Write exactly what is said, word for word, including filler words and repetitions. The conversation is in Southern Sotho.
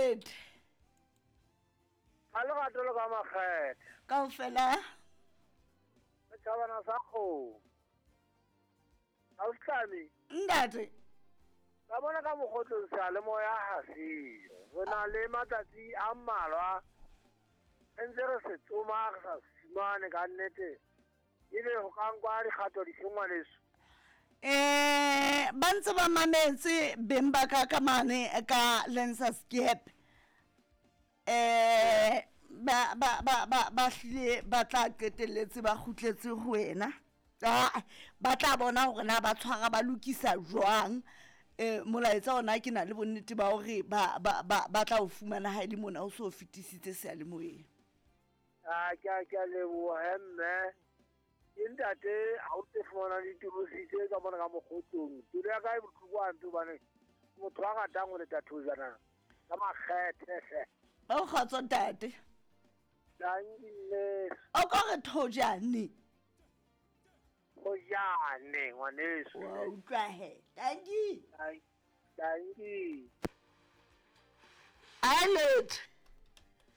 Lete. Ka lerato le ka makgethe. Kaofela. Setjhabana sa kgomo. Ausi. Ntate. Ka bona ka mokgotlong seyalemoya ha seyo. Re na le matsatsi a mmalwa re ntse re se tsoma re sa se fumane ka nnete. Ebe ho ka nkwa dikgato dife ngwaneso? Eh ba ntse ba mametse beng ba ka ka mane ka Lensa Skep. Eh ba ba ba ba ba hlile ba tla qetelletse ba kgutletse ho wena. Ah ba tla bona hore na ba tshwara ba lokisa jwang. Eh molaetsa ona ke na le bonnete ba hore ba ba ba ba tla o fumana ha ile mona o so fetisitse seyalemoyeng. Ah ke a ke a leboha he mme. Ke ntate ha o tse fumana ditorosi tse ka mona ka mokgotlong. Pelo ya ka e bohloko hampe hobane motho a ratang ho leta thojana ka makgethe hle. O kgotso ntate. Dankie mme. O ka re thojane. Thojane ngwaneso. Wa utlwa he. Dankie. Dankie. Alet.